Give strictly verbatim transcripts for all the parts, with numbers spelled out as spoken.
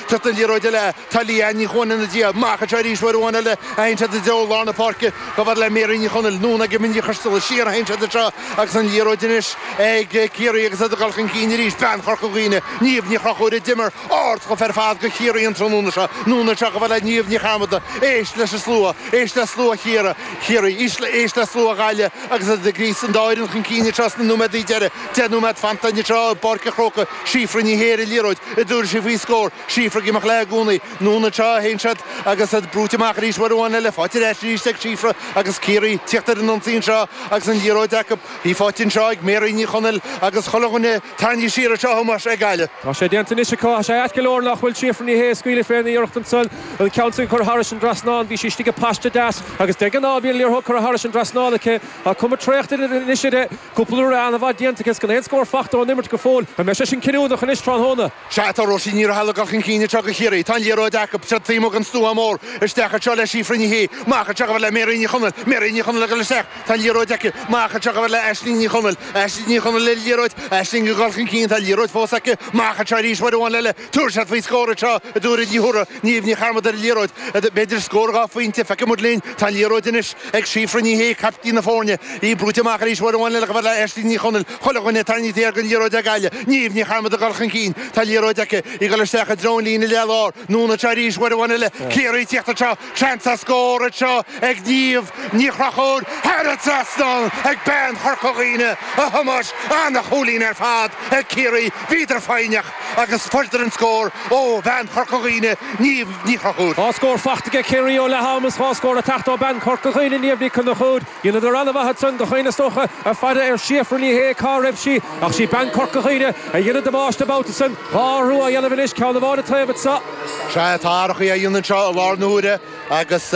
Teacht an liathróid eile, tá Leanne Ní Chuain ina diaidh, amach anseo arís uair amháin eile a théann siad i dtreo lár na páirce, chomh fada le Mary Ní Chonaill, anonn ag Mindy Costello, siar a théann siad anseo agus an liathróid anois ag Ciarraí agus iad ag dul chun cinn arís, bean Chorca Dhuibhne, Niamh Ní Chonchúir a d'imir ardchluiche ar fad do Chiarraí an tráthnóna seo, anonn anseo chomh fada le Niamh Ní Chearmada, éist leis an slua, éist le slua Chiarraí, Chiarraí, éist le slua Ghaillimh agus iad ag gríosadh an dá fhoireann chun cinn anseo sna nóiméadaí deiridh, deich nóiméad fanta anseo i bPáirc an Chrócaigh, Síofra Ní Shé ar an liathróid, an dtabharfaidh sí faoi scór, Síofra ag imeacht léi i gcónaí, anonn anseo a théann siad agus iad brúite amach arís uair amháin eile, faighte ar ais arís ag Síofra agus Ciarraí tíocht ar an ionsaí anseo agus an liathróid acu, í faighte anseo ag Mary Ní Chonaill agus chuile dhuine tarraingthe siar anseo a Thomáis ag Gaillimh. Tá sé déanta anois acu, tá sé ait go leor nach bhfuil Síofra Ní Shé ag scaoileadh fén iarracht ansan an ceann sin a chur thairis an dtrasnán. Bhí sí istigh i bpaiste deas agus de ghnáth bíonn an liathróid curtha thairis an dtrasnán aici. Tá cuma traochta anois uirthi. Cúpla uair an-mhaith déanta aici is gan aon scór fachta ón imirt go fóill. An mbeidh sé sin cinniúnach anois tráthnóna? Sea, tá Róisín Ní Raghallaigh ag dul chun cinn anseo do Chiarraí. Tá an liathróid acu. Siad taobh amuigh den stua mór. Isteach anseo le Síofra Ní Shé. Amach anseo chomh fada le Mary Ní Chonaill. Mary Ní Chonaill ag dul isteach. Tá an liathróid aici. Amach anseo chomh fada le Aisling Ní Chonaill. Aisling Ní Chonaill ar an liathróid. Aisling ag dul chun cinn. Tá an liathróid fós aici. Amach anseo arís uair amháin eile. Tabharfaidh siad faoi scór anseo a dúirt Ní Thuara. Niamh Ní Chearmada ar an liathróid. B'fhéidir scór dhá phointe. Feicfidh muid linn. Tá an liathróid anois ag Síofra Ní Shé, caiptín na foirne. Í brúite amach arís uair amháin eile chomh fada le Aisling Ní Chonaill. Chuile dhuine tarraingthe thiar den liathróid ag Gaillimh. Niamh Ní Chearmada ag dul chun cinn. Tá an liathróid aici. Í ag dul isteach i dtreo an líne leath-lár. Anonn anseo arís uair amháin eile. Ciarraí ag tíocht anseo. Seans ar scór anseo ag Niamh Ní Chonchúir thar an trasnán ag bean Chorca Dhuibhne, a Thomáis. Ana-chúilín ar fad ag Ciarraí. Bhíodar foighneach agus fuaireadar an scór ó bhean Chorca Dhuibhne, Niamh Ní Chonchúir. Dhá scór fachta aige Ciarraí ó leath am is dhá scór ag teacht ó bean Chorca Dhuibhne, Niamh Ní Chonchúir. Dheineadar an-mhaith ansan gach éinne is dócha ag faire ar Shíofra Ní Shé cá raibh sí ach sí bean Chorca Dhuibhne a dhein an damáiste an babhta san. Dhá athrú á dhéanamh anois, ceann amháin an taobh anseo. Sea, tá athrachaí á dhéanamh anseo i láthair na huaire agus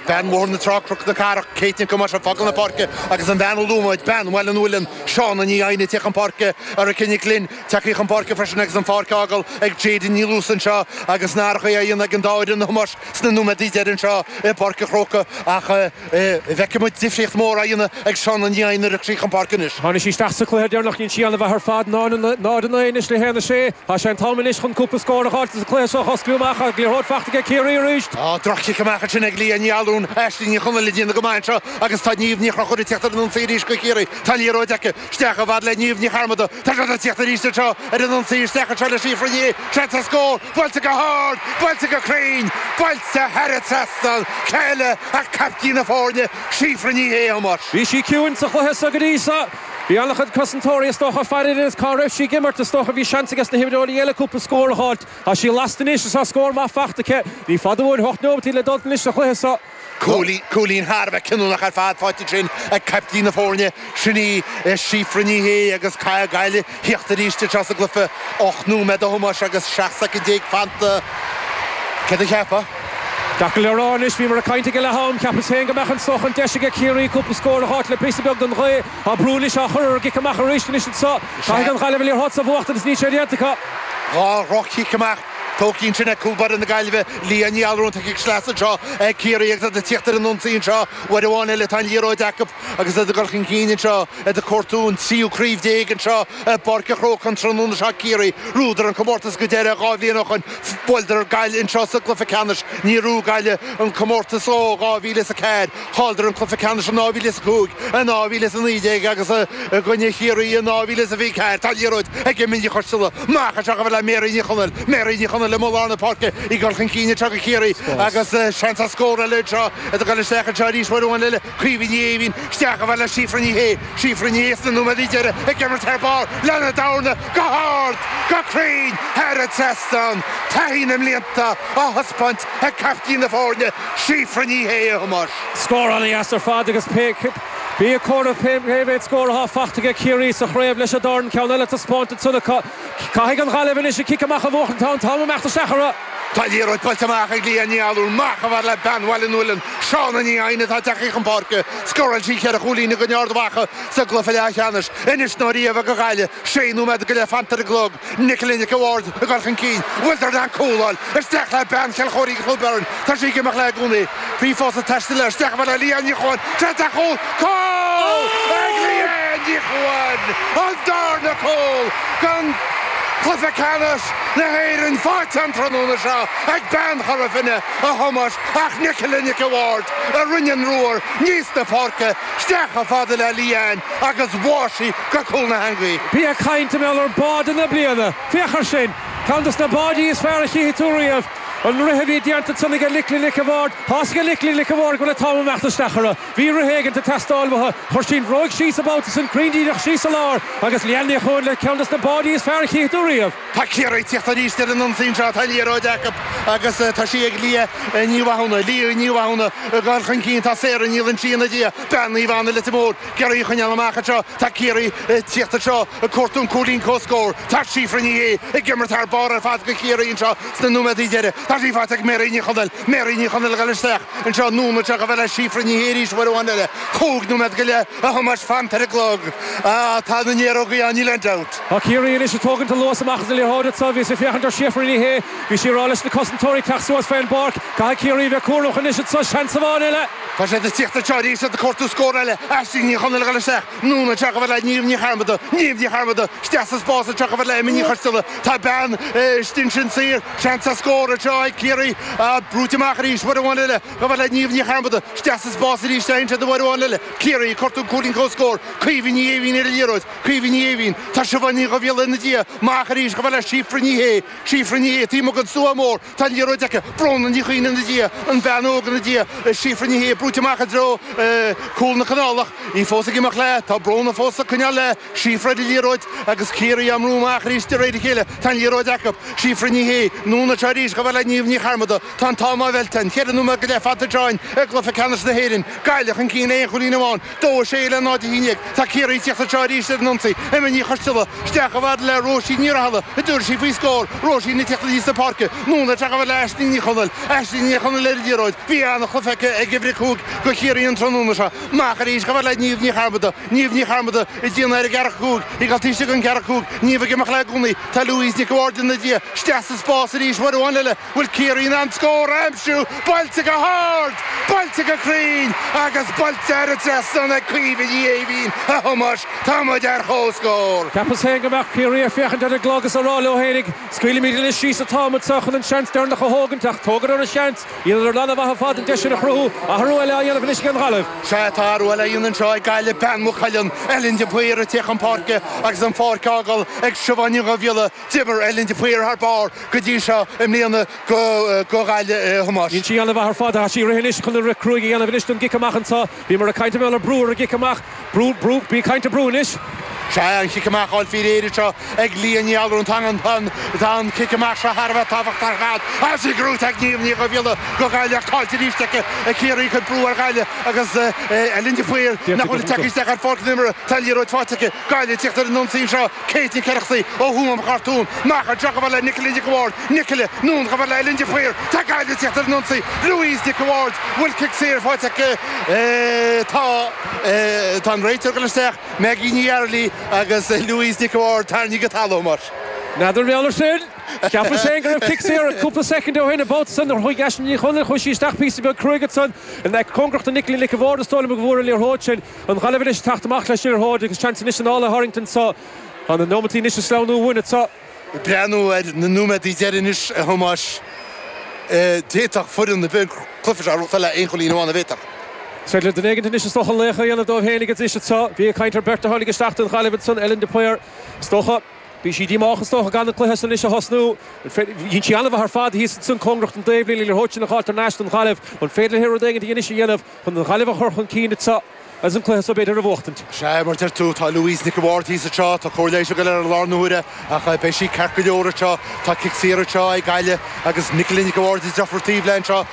bean Bhóthar na Trá, Cnoc na Cathrach, Kate Nic Thomáis ag fágáil na páirce agus an bhean a luaigh muid, bean Bhaile an Mhuilinn, Shauna Ní Eidhne, ag teacht chun páirce, Erica Nic Fhloinn, tagtha chun páirce freisin agus an pháirc á fhágáil ag Jayden Ní Luasa anseo agus na hathrachaí á dhéanamh ag an dá fhoireann, a Thomáis, sna nóiméadaí deiridh anseo i bPáirc an Chrócaigh ach feicfidh muid difríocht mhór á dhéanamh ag Shauna Ní Eidhne nuair a thiocfaidh sí chun páirce anois. Tháinig sí isteach sa chluiche deireanach, dhein sí an-mhaith ar fad, náid a naoi anois le haon a sé. Tá sé an t-am anois chun cúpla scór a dh'fháilt sa chluiche seo a osclú amach ach liathróid fachta aige Ciarraí arís. Tá droch-chic amach ansin ag Leah Ní Allúin, Aisling Ní Chonaill ag déanamh go maith anseo agus tá Niamh Ní Chonchúir ag teacht ar an ionsaí arís do Chiarraí. Tá an liathróid aici. Isteach chomh fada le Niamh Ní Chearmada. Tá siad ag tíocht arís anseo ar an ionsaí. Isteach anseo le Síofra Ní Shé. Seans ar scór. Buailte go hard! Buailte go cruinn! Buailte thar an trasnán! Cé eile ach caiptín na foirne, Síofra Ní Shé, a Thomáis. Bhí sí ciúin sa chluiche seo go dtí seo. Bhí an-chuid cosantóirí is dócha ag faire uirthi is cá raibh sí ag imirt. Is dócha bhí seans aige na himreoirí eile cúpla scór a dh'fháilt. Tá sí lasta anois is tá scór maith fachta aici. Ní fada uainn hocht neomatí le dul anois sa chluiche seo. Cúilín thar a bheith cinniúnach ar fad faighte ansin ag caiptín na foirne, sin í Síofra Ní Shé agus caithfidh Gaillimh thíocht arís anseo sa gcluiche. Ocht nóiméad a Thomáis agus seacht soicind déag fanta. Céard a cheapfá? Deacair le rá anois, bhíomar ag caint ag leath am, cheapas féin go mbeadh an dócha an deis aige Ciarraí cúpla scór a dh'fháilt le píosa beag den ghaoth. Tá brú anois á chur ar an gcic amach arís anois anseo. Caithfidh an Ghaillimh an liathróid seo a bhuachtaint is níl sé déanta acu. Dhá dhroch-chic amach. Tógtha ansin ag cúl báire na Gaillimhe, Leah Ní Allúin, tá cic sleasa anseo ag Ciarraí agus iad ag tíocht ar an ionsaí anseo. Uair amháin eile tá an liathróid acu agus iad ag dul chun cinn anseo, iad ag cuartú an tríú craobh déag anseo i bPáirc an Chrócaigh an tráthnóna seo. Ciarraí, bhuadar an comórtas go deireadh dhá bhliain ó shoin. Bhuaileadar Gaillimh anseo sa gcluiche ceannais. Níor bhuaigh Gaillimh an comórtas ó dhá mhíle is a ceathair. Chailleadar an cluiche ceannais in dhá mhíle is a cúig, in dhá mhíle is a naoi déag agus i gcoinne Chiarraí in dhá mhíle is a fiche ceathair. Tá liathróid ag Mindy Costello. Amach anseo chomh fada le Mary Ní Chonaill. Mary Ní Chonaill amuigh i lár na páirce ag dul chun cinn anseo do Chiarraí agus seans ar scór eile anseo. Iad ag dul isteach anseo arís uair amháin eile. Caoimhe Ní Éimhín isteach chomh fada le Síofra Ní Shé. Síofra Ní Shé sna nóiméadaí deiridh ag imirt thar barr lena dorna go hard, go cruinn thar an trasnán. Taithí na mblianta á thaispeáint ag caiptín na foirne, Síofra Ní Shé, a Thomáis. Scór an-dheas ar fad agus pé bí ag comhaireamh cé mhéad scór atá fachta aige Ciarraí sa chraobh leis an dorn, ceann eile taispeánta ansan acu. Caithfidh an Ghaillimh anois an cic amach a bhuachan, tá an t-am imeacht isteach orthu. Tá liathróid buailte amach ag Leah Ní Allúin, amach chomh fada le bean Bhaile an Mhuilinn, Shauna Ní Eidhne atá tagtha chun páirce. Scóráil sí ceithre chúilín i gcoinne Ard Mhacha sa gcluiche leathcheannais. Anois nó riamh ag an Ghaillimh, sé nóiméad go leith fanta ar an gclog. Nicola Nic a' Bhaird ag dul chun cinn. Bhfuiltear in ann cúl a fháil? Isteach le bean Chill Chóirín Cló Byrne. Tá sí ag imeacht léi i gcónaí. Bhí fós ag taisteal léi. Isteach le Leanne Ní Chuan. Seans ar chúl. Cúl ag Leanne Ní Chuan! An darna cúl don Cluiche ceannais na hÉireann faighte an tráthnóna seo ag bean Chora Finne a Thomáis ach Nicola Nic an Bhaird a rinne an ruathar aníos na páirce isteach chomh fada le Leanne agus bháigh sí go cúl na heangaí. Bí ag caint mar gheall ar báide na bliana. Féach air sin, Ceann de na báidí is fearr a chífidh tú riamh. An rith a bhí déanta ansan ag Nicola Nic an Bhaird, Tá ag Nicola Nic an Bhaird go le t-am imeacht isteach uirthi. Bhí rith éigin ag teastáil uaithi, chuir sí an bhróig síos an babhta san cruinn díreach síos sa lár agus Leanne Ní Chuan le ceann de na báidí is fearr a chífidh tú riamh. Tá Ciarraí ag tíocht arís ar an ionsaí seo tá liathróid acu agus tá sí ag Lia Ní Mhathúna, Lia Ní Mhathúna ag dul chun cinn tá Sarah Ní Loinsigh ina diaidh, bean Naomh Anna Leitir Móir, ag iarraidh í a choinneáil amach anseo, tá Ciarraí ag tíocht anseo ag cuartú an cúilín comhscóir, tá Síofra Ní Shé ag imirt thar barr ar fad do Chiarraí anseo sna nóiméadaí deiridh. Tá sí faighte ag Mary Ní Chonaill, Mary Ní Chonaill ag dul isteach anseo anonn anseo chomh fada le Síofra Ní Shé arís uair amháin eile. Cúig nóiméad go leith a Thomáis fanta ar an gclog. Ah, tá na néarógaí ann, níl aon dabht. Tá Ciarraí anois ag tógaint an luas amach as an liathróid anseo, bhí sí ag féachaint ar Síofra Ní Shé, bhí sí ag rá leis na cosantóirí teacht suas fén bpáirc, caithfidh Ciarraí bheith cúramach anois anseo, seans amháin eile. Tá siad ag tíocht anseo arís ag cuartú scór eile, Aisling Ní Chonaill ag dul isteach, anonn anseo chomh fada le Niamh Ní Chearmada, Niamh Ní Chearmada, isteach sa spás anseo chomh fada le Emma Ní Choisteala, tá bean istigh ansin saor, seans ar scór anseo ag Ciarraí, brúite amach arís, uair amháin eile, chomh fada le Niamh Ní Chearmada, isteach sa spás arís, téann siad uair amháin eile, Ciarraí ag cuartú cúilín comhscóir, Caoimhe Ní Éimhín ar an liathróid, Caoimhe Ní Éimhín, tá Siobhán Ní Dhubhghiolla ina diaidh, amach arís chomh fada le Síofra Ní Shé, Síofra Ní Shé, taobh amuigh den stua mór, tá an liathróid aici, Bróna Ní Chuinn ina diaidh, an bhean óg ina diaidh, Síofra Ní Shé brúite amach i dtreo cúl na Canálach, í fós ag imeacht léi, tá Bróna fós ag coinneáil léi, Síofra ar an liathróid agus Ciarraí á mbrú amach arís de réir a chéile, tá an liathróid acu, Síofra Ní Shé, anonn anseo arís chomh fada le Niamh Ní Chearmada, tá an t-am á mheilt, ceithre nóiméad go leith fanta anseo i gcluiche ceannais na hÉireann, Gaillimh chun cinn aon chúilín amháin, dó a sé le náid a haon déag, tá Ciarraí ag tíocht anseo arís ar an ionsaí, Emma Ní Choisteala, isteach chomh fada le Róisín Ní Rathaille, an dtabharfaidh sí faoi scór, Róisín ag tíocht aníos na páirce, anonn anseo chomh fada le Aisling Ní Chonaill, Aisling Ní Chonaill ar an liathróid, bhí an-chluiche aici ag uimhir a cúig do Chiarraí an tráthnóna seo, amach arís chomh fada le Niamh Ní Chearmada, Niamh Ní Chearmada ag déanamh ar an gceathracha cúig, ag dul taobh istigh den cheathracha cúig, Niamh ag imeacht léi i gcónaí, tá Louise Nic an Bhaird ina diaidh, isteach sa spás arís uair amháin eile, bhfuil Ciarraí in ann scór a aimsiú, buailte go hard, buailte go cruinn agus buailte ar an trasnán ag Caoimhe Ní Éimhín a Thomáis, tá muid ar chomhscór. Cheapas féin go mbeadh Ciarraí ag féachaint ar an gclog is ag rá leo féinig, scaoilimid anois síos an t-am anseo chun an seans deireanach a thógaint ach tógadar an seans, dheineadar an-mhaith ar fad an deis sin a chruthú, athrú eile á dhéanamh anois ag an Ghaillimh. Sea, tá athrú eile á dhéanamh anseo ag Gaillimh, bean Mhaigh Cuilinn, Ellen de Paor ag tíocht chun páirce agus an pháirc á fhágáil ag Siobhán Ní Dhubhghiolla, d'imir Ellen de Paor thar barr go dtí seo i mbliana go go Ghaillimh a Thomáis. Dhein sí an-mhaith ar fad, tá sí ag rith anois chun an rith cruaidh a dhéanamh anois don gcic amach anseo. Bhíomar ag caint ar brú ar an gcic amach, brú, brú, bí ag caint ar brú anois. Sea, an cic amach á fháil faoi réir anseo ag Lia Ní Allrúin, tá an tá an cic amach seo thar a bheith tábhachtach ar fad. Tá sí gnóthaithe ag Niamh Ní Dhubhghiolla do Ghaillimh caillte arís aici ag Ciarraí ag cur brú ar Ghaillimh agus Ellen de Paor nach bhfuil ag teacht isteach ar pháirc na himeartha, tá an liathróid faighte aici. Gaillimh ag tíocht ar an ionsaí anseo, Kate Nic Oireachtaigh ó Thuama Chartún, amach anseo chomh fada le Nicola Nic an Bhaird, Nicola, anonn chomh fada le Ellen de Paor, tá Gaillimh ag tíocht ar an ionsaí, Louise Nic an Bhaird, bhfuil cic saor faighte aici? Tá tá an réiteoir ag dul isteach, Maggie Ní Fhearghaile agus Louise Nic an Bhaird tarraingthe go talamh mar. N'fheadar mar gheall air sin. Cheapas féin go raibh cic saor cúpla soicind ó shin an babhta san nuair a chuaigh Aisling Ní Chonaill, chuaigh sí isteach píosa beag cruaidh ansan in aice cóngarach do Nicola Nic an Bhaird is dóigh liom go bhfuair an liathróid sin. An Ghaillimh anois ag teacht amach leis an liathróid agus seans anois an ála a tharraingt anseo. Tá na nóimeataí anois ag sleamhnú uainn anseo. Ag breathnú ar na nóiméadaí deiridh anois, a Thomáis, d'fhéadfadh foireann ar bith an cluiche seo a ghnóthachtáil le aon chúilín amháin, an bhféadfadh? Is féidir le duine éigin anois is dócha laoch a dhéanamh dóibh féin anois anseo. Bhí ag caint ar beirt a tháinig isteach don Ghaillimh ansan, Ellen de Paor, is dócha. Bhí sí díomách is dócha gan an cluiche san anois a thosnú. Dhein sí an-mhaith ar fad thíos ansan cóngarach don taobhlíne, an liathróid sin a fháilt thar n-ais don Ghaillimh. An féidir léi rud éigin anois a dhéanamh chun an Ghaillimh a chur chun cinn anseo agus an cluiche so b'fhéidir a bhuachtaint? Sea, mar deir tú, tá Louise Nic an Bhaird thíos anseo, tá cóir leighis ag dul ar an lár na huaire ach beidh sí ceart go leor anseo. Tá cic saor anseo ag Gaillimh agus Nicola Nic an Bhaird ag deirfiúr taobh léi anseo.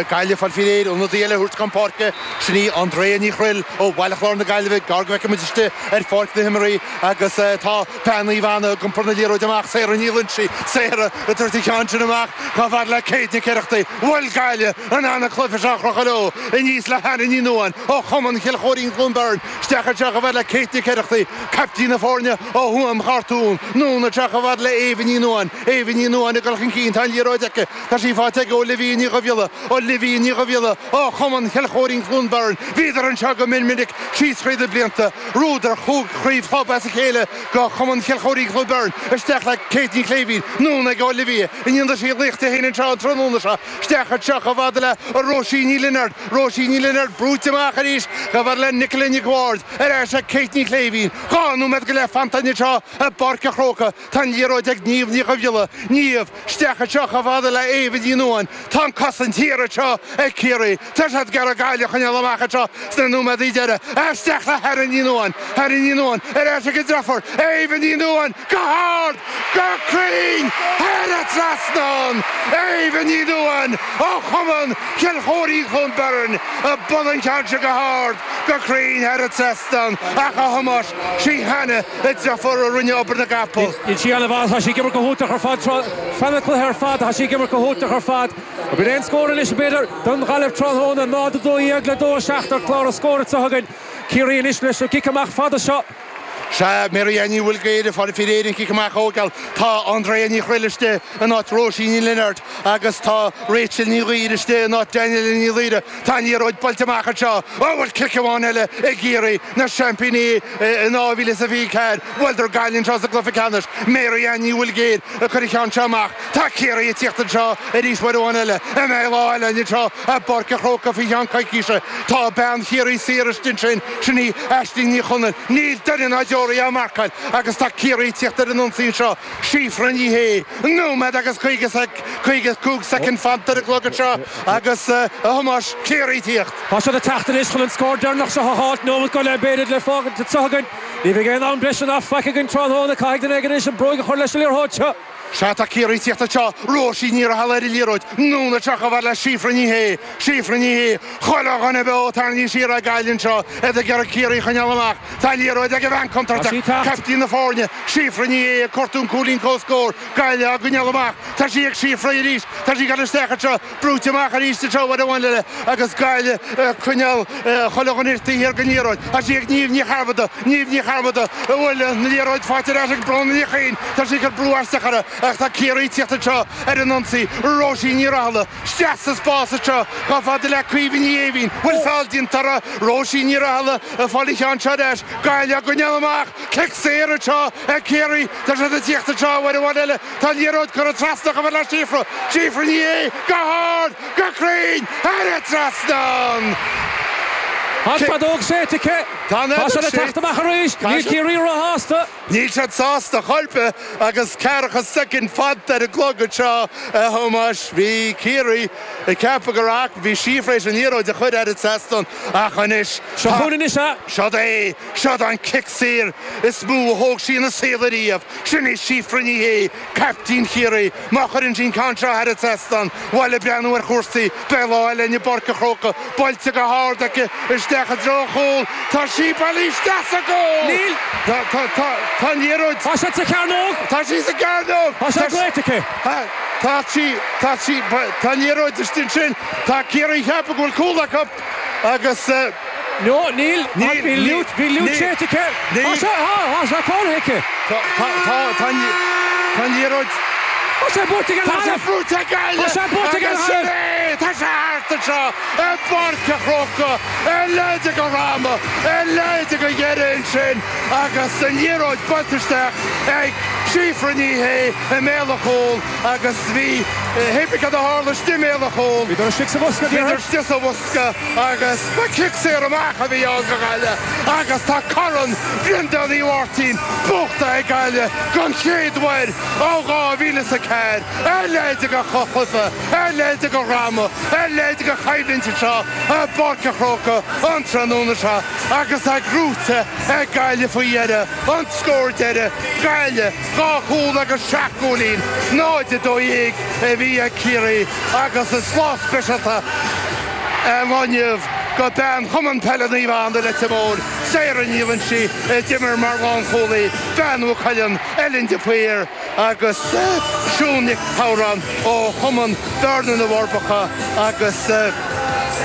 Gaillimh ag fáil faoi réir, ionadaí eile a thabhairt chun páirce, sin í Andrea Ní Chroill ó Bhaile Chláir na Gaillimhe, gar go bhfeicfidh muid istigh ar pháirc na himeartha agus tá bean Naomh Anna ag iompar na liathróide amach, Sarah Ní Loinsigh, Sarah ag tabhairt an ceann sin amach chomh fada le Kate Nic Oireachtaigh. Bhfuil Gaillimh in ann an cluiche seo a chrochadh leo aníos le Hannah Ní Nuadháin ó Chumann Chill Chóirín. Chóirín Chluain Bheirn isteach anseo chomh fada le Kate Nic Oireachtaigh, caiptín na foirne ó Thuaim Chartún, anonn anseo chomh fada le Éabha Ní Nuadháin, Éabha Ní Nuadháin ag dul chun cinn, tá an liathróid aici, tá sí faighte ag Olivia Ní Dhubhghiolla, Olivia Ní Dhubhghiolla ó Chumann Chill Chóirín Chluain Bheirn, bhíodar anseo go mion minic síos thríd na blianta, bhuadar cúig chraobh chlub as a chéile do Chumann Chill Chóirín Chluain Bheirn, isteach le Kate Ní Chléibhín, anonn ag Olivia, i ndéanamh sí laoch di féin anseo an tráthnóna seo, isteach anseo chomh fada le Róisín Ní Lionáird, Róisín Ní Lionáird brúite amach arís chomh fada le Nicola Nic Bhaird, ar ais ag Kate Ní Chléibhín, dhá nóiméad go leith fanta anseo i bPáirc an Chrócaigh, tá an liathróid ag Niamh Ní Dhubhghiolla, Niamh, isteach anseo chomh fada le Éabha Ní Nuadháin, tá an cosaint thiar anseo ag Ciarraí, tá siad ag iarraidh Gaillimh a choinneáil amach anseo sna nóiméadaí deiridh, isteach le Hannah Ní Nuadháin, Hannah Ní Nuadháin, ar ais ag an deirfiúr, Éabha Ní Nuadháin, go hard, go cruinn, thar an trasnán, Éabha Ní Nuadháin ó Chumann Chill Chóirín Chluain Bheirn, ag bualadh an ceann seo go hard, go cruinn thar an trasnán, ach a Thomáis, sí Hannah an deirfiúr a rinne obair na gcapall. Níl sí an-mhaith, tá sí ag imirt go hiontach ar fad, feadh an chluiche ar fad, tá sí ag imirt go hiontach ar fad. Bíonn aon scór anois b'fhéidir don Ghaillimh tráthnóna náid a dó dhéag le dó a seacht ar chlár an scóir anseo againn. Ciarraí anois leis an gcic amach fada seo. Sea, Mary Ann Ní Mhaoilghéire, fáil faoi réir an cic amach a thógáil. Tá Andrea Ní Chroill istigh in áit Róisín Ní Lionáird agus tá Rachel Ní Ghaoir istigh in áit Daniela Ní Laoire. Tá an liathróid buailte amach anseo. Ó, bhfuil cic amháin eile ag Ciarraí, na seaimpíní in dhá mhíle is a fiche ceathair. Bhuaileadar Gaillimh anseo sa gcluiche ceannais. Mary Ann Ní Mhaoilghéire ag cur an cheann seo amach. Tá Ciarraí ag tíocht anseo arís uair amháin eile. An mbeidh lá eile anseo i bPáirc an Chrócaigh faoi cheann coicíse. Tá bean Chiarraí saor istigh ansin, sin í Aisling Ní Chonaill. Níl duine ná deoraí á marcáil agus tá Ciarraí ag tíocht ar an ionsaí anseo. Síofra Ní Shé, nóiméad agus caoga caoga cúig soicind fanta ar an gclog anseo agus a Thomáis, Ciarraí ag tíocht. Tá siad ag teacht anois chun an scór deireanach seo a fháilt, nóiméad go leith b'fhéidir le fágaint anseo againn. Ní bheidh aon am breise ná faic againn tráthnóna, caithfidh duine éigin anois an bróig a chur leis an liathróid seo. Sea, tá Ciarraí ag tíocht anseo, Róisín Ní Raghallaigh ar an liathróid, anonn anseo chomh fada le Síofra Ní Shé, Síofra Ní Shé, chuile dhuine beo tarraingthe siar ag Gaillimh anseo, iad ag iarraidh Ciarraí a choinneáil amach. Tá an liathróid ag an bhean contúirteach, caiptín na foirne, Síofra Ní Shé ag cuartú an cúilín comhscóir, Gaillimh á gcoinneáil amach. Tá sí ag Síofra arís, tá sí ag dul isteach anseo, brúite amach arís anseo uair amháin eile agus Gaillimh ag coinneáil chuile dhuine taobh thiar den liathróid. Tá sí ag Niamh Ní Chearmada, Niamh Ní Chearmada, a bhfuil an liathróid faighte ar ais ag Bróna Ní Chuinn, tá sí ag cur brú isteach uirthi. Ach tá Ciarraí ag tíocht anseo ar an ionsaí, Róisín Ní Raghallaigh, isteach sa spás anseo, chomh fada le Caoimhe Ní Éimhín, bhfuil feall déanta uirthi, Róisín Ní Raghallaigh ag fáil an cheann seo ar ais, Gaillimh á gcoinneáil amach, cic saor anseo ag Ciarraí, tá siad ag tíocht anseo uair amháin eile, tá an liathróid curtha trasna chomh fada le Síofra, Síofra Ní Shé, go hard, go cruinn, thar an trasnán! An feadóg séidte aici. Tá an Tá siad fheadóg ag teacht séidte. amach arís. Tá Níl siad- Ciarraí róshásta. Níl siad sásta chor ar bith agus ceathracha soicind fanta ar an gclog anseo a Thomáis. Bhí Ciarraí ag ceapadh go raibh bhí Síofra théis an liathróid a chur thar an trasnán ach anois Seo chugainn anois é. Seod é, seod an cic saor is mó a thóg sí ina saol ariamh. Sin í Síofra Ní Shé, caiptín Chiarraí. Má chuireann sí an ceann seo thar an trasnán, bhaile breathnú ar chúrsaí, beidh lá eile i bPáirc an Chrócaigh, buailte go hard aici isteach i dtreo an chúil. Tá sí bailithe isteach sa gcúl! Níl. Tá, tá, tá, tá an liathróid. Tá sé sa chearnóg. Tá sí sa gcearnóg. Tá sé glaoite aici. Tá sí, tá sí, tá an liathróid istigh ansin. Tá Ciarraí ag ceapadh go bhfuil cúl acu agus eh, No, níl. Níl, Bhí níl, liút, bhí liút níl. séidte aici. Níl. Tá sé, tá, tá sé cónaithe aici. tá, tá, tá, tá, an- tá an liathróid. Tá sé buaite ag an Tá sé Ghaillimh. buaite ag Gaillimh. Tá sé buaite ag an Agus sin é, tá sé thart anseo i bPáirc an Chrócaigh, ar leide go rama, ar leide go dheireadh ansin agus an liathróid buailte isteach ag Síofra Ní Shé i mbéal an chúil agus bhí hippic a tharla istigh i mbéal an chúil. Bhíodar istigh sa bhosca, Bhíodar déarfainn. istigh sa bhosca agus ba cic saor amach a bhí ann go Gaillimh agus tá Corn Bhreandáin Uí Mháirtín buachta ag Gaillimh don chéad uair ó dhá mhíle is a ceathair ar leide go chluiche, ar leide go rama, ar leide go choimhlint anseo i bPáirc an Chrócaigh an tráthnóna seo agus é gnóite ag Gaillimh faoi dheireadh an scór deiridh Gaillimh dhá chúl agus seacht gcúilín náid a dó dhéag a bhí ag Ciarraí agus is lá speisialta an lá inniu go bean Chumann Peile Naomh Anna Leitir Móir, Sarah Ní Loinsigh a d'imir mar lánchúlaí, Bean Mhaigh Cuilinn, Ellen de Paor agus Siún Nic Shamhráin ó Chumann Bearna na bhForbacha agus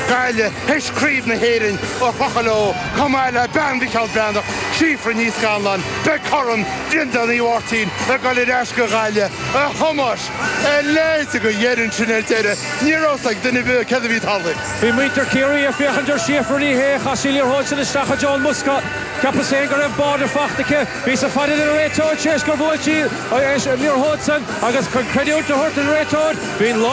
Gaillimh théis Craobh na hÉireann a chrochadh leo chomh maith le bean Mhicheál Breathnach Síofra Ní Scanláin beidh Corn Bhreandáin Uí Mháirtín ag dul ar ais go Gaillimh a Thomáis a leithéid de dheireadh sin ar deireadh ní raibh ag duine cad a bhí tarlaithe. Bhí muintir Chiarraí ag féachaint ar Síofra Ní Shé chaith sí liathróid sin isteach i dtreo an bhosca. Ceapas féin go raibh báide faighte aici, bhí sa fad an réiteoir séis gur bhuail sí liathróid san agus chun creidiúint a thabhairt an réiteoir, bhí'n lá